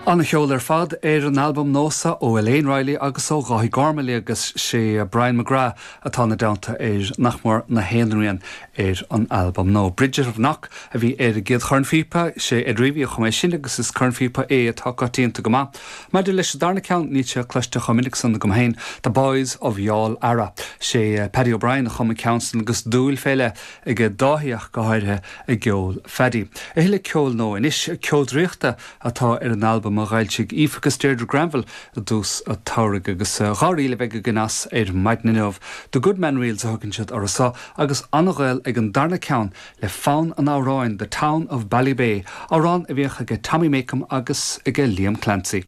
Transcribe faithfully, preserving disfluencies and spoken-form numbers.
An-cheol ar fad ar an albam nua seo ó Elaine Riley agus ó Dháithí Gormley agus sé Brian McGrath atá ina dteannta ar nach mór na haon rian ar an albam nua. Bridget of Knock a bhí ar an gcéad chornphíopa sé Ed Reavy a chum é sin agus is cornphíopa é atá coitianta go maith. Maidir leis an darna ceann níl sé cloiste chomh minic san agam féin, The Boys of Youghal Ara. sé Paddy O'Brien a chum an ceann san agus dúil faoi leith ag Dáithí ach go háirithe i gceol Phaddy. A thuilleadh ceoil nua anois ceol draíochta atá ar an albam a d'fhoilsigh Aoife agus Deirdre Granville i dtús an tsamhraidh agus dhá ríl a bheidh againn as ar maidin inniu. The Goodman Reels a thugann siad orthu seo agus an-ghaol ag an darna ceann le fonn an amhráin The Town of Ballybay, amhrán a bhíodh aige Tommy Makem agus aige Liam Clancy.